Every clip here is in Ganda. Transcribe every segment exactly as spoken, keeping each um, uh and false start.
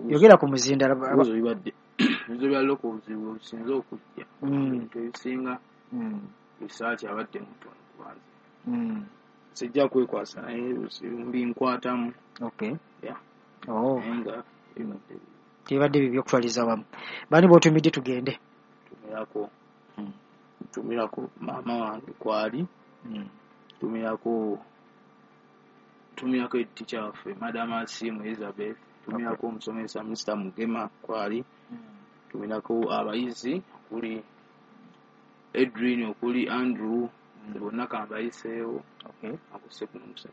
Yogera ku muzindaalo. Ebibuuzo bibadde ebibuuzo bya local, obuzibu obusinze okujja, Mm. ebintu ebisinga Mm. research abadde mutono kubanze. Mm. Sijja kwekwasa, naye mbinkwatamu. Okay. Yeah. Oh. Naye nga bibadde Tebibadde bibi okutwaliza wamu. Bani b'otumidde tugende? Ntumirako ntumirako maama wange kwali, ntumirako ntumirako teacher waffe, Madam Asimu Elizabeth, ntumirako omusomesa Mister Mugema kwali, ntumirako abayizi okuli Edwin, okuli Andrew, bonna kambayiseewo. Okay.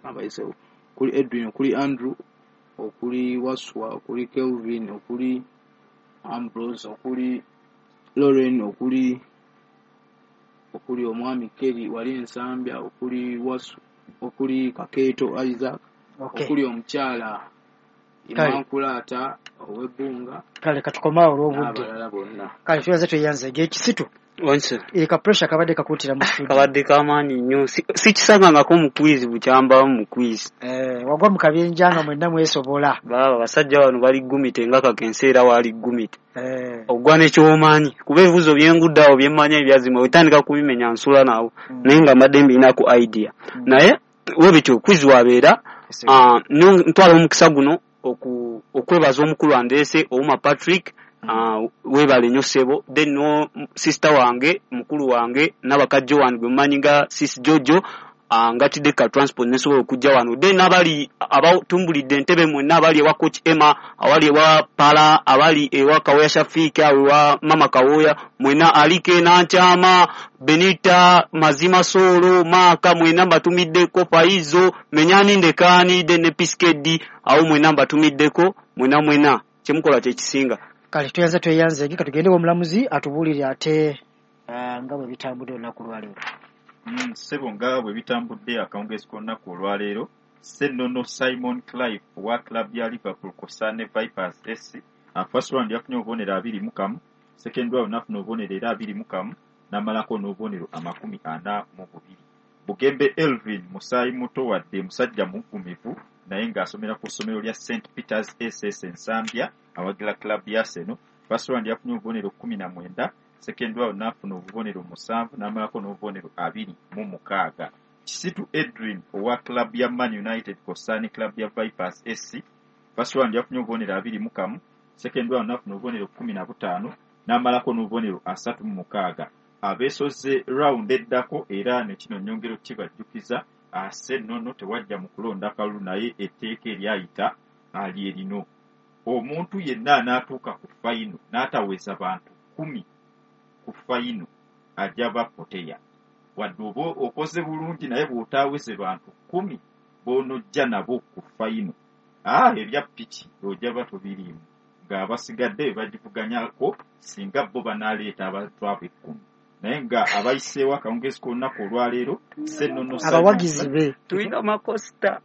Kambayiseewo okuli Edwin, okuli Andrew, okuli Waswa, okuli Kelvin, okuli Ambrose, okuli Lauren, okuli okuli omwami Kelly wali Ensambya, okuli Wasu, okuli Kakeeto Isaac, Okay. okuli omukyala Kale. Imankulaata ow'ebbunga Kale katukomaawo olw'obudde. n'abalala bonna. Kale twebaze, tweyanzeege ekisitu. Onse. E, ka pressure kabadde kakuutira mu studio. Kabadde kamaanyi nnyo. Si- sikisangangako mu quiz bukyambamu mu quiz. Eh, wagwa mu kabinja nga mwenna mwesobola. Baaba basajja bano bali gumite nga kakensa era waali gumite. Eh. Ogwa nekyomanyi kuba ebibuuzo byengudde awo byemmanyi ebyazima otandika kubimenya nsula naawo, Mm. naye nga mbadde mbirinaku idea. Mm. Naye webityo quiz wabeera. Ese. Ah, nyo- ntwala omukisa guno oku- okwebaza omukulu andeese, Ouma Patrick. Ah, weebale nnyo ssebo. Then no sister wange, mukulu wange n'abakajjo wange gwe mumanyi nga Sis Jojo, ah, ngatidde ka transport nesobola okujja wano. Then n'abali abatumbulidde entebe mwenna, abali ewa Coach Emma, abali ewa Pala, abali ewa Kawoya Shafiki, awo ewa Mama Kawoya mwenna, Alike Nankyama, Benita Mazima, Solo Maaka, mwenna mbatumiddeko, Faizo Menyani Ndekaani, then ne Piskedi awo mwenna mbatumiddeko mwenna mwenna, kyemukola kyekisinga. Kale tweyanze, tweyanzeege. Katugende omulamuzi atubuulire ate ah, nga bwe bitambudde olunaku lwaleero. Mm, ssebo, nga bwe bitambudde akawungeezi k'olunaku olwaleero, Ssennono Simon Clive owa club ya Liverpool kw'ossa ne Vipers S C, uh, first round yafunye obubonero abiri mu kamu, second round n'afuna obubonero era abiri mu kamu, n'amalako n'obubonero amakumi ana mu bubiri. Bugembe Elvin musaayi muto wadde musajja muggumivu, naye ng'asomera ku ssomero lya Saint Peters S S Ensambya, awagira club ya Arsenal. First round yafunye obubonero kumi na mwenda, second round n'afuna obubonero musanvu, n'amalako n'obubonero abiri mu mukaaga. Kisitu Edwin owa club ya Man United kw'ossa ne club ya Vipers S C, first round yafunye obubonero abiri mu kamu, second round n'afuna obubonero kumi na butaano, n'amalako n'obubonero asatu mu mukaaga. Abeesoze round eddako, era ne kino nnyongera okukibajjukiza, Ssennono tewajja mu kulonda kalulu, naye etteeka eryayita lye lino: omuntu yenna anaatuuka ku final n'ataweza bantu kumi ku final ajja bapoteya. Wadde oba okoze bulungi, naye bw'otaaweze bantu kumi b'onojja nabo ku final, aa ebya piki ojja ba tobiriimu, ng'abasigadde be bagivuganyako singa bo banaaleeta abantu abo ekkumi. Naye nga abayiseewo akawungeezi k'olunaku olwaleero, Ssennono Abawagizi be. Tulina makosita.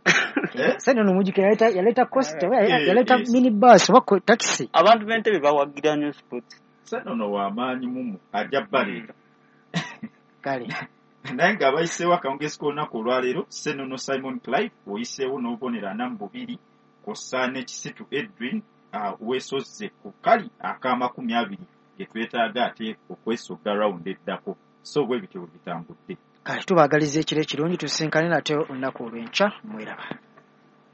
Eh? Ssennono mujjukira yaleeta yaleeta coaster oba Eh, yaleeta eh. mini bus oba ko- taxi. Abantu b'entebe bawagira nnyo sports. Ssennono w'amaanyi mumu ajja baleeta. Kale. Naye ng'abayiseewo akawungeezi k'olunaku olwaleero, Ssennono Simon Clive oyiseewo n'obubonero ana mu bubiri kw'ossa ne Kisitu Edwin, uh, weesozze ku kali ak'amakumi abiri ge twetaaga ate okwesogga round eddako. So bwe bityo bwe bitambudde. Kale tubaagaliza ekiro ekirungi, tusinkane nate olunaku olw'enkya. Mweraba.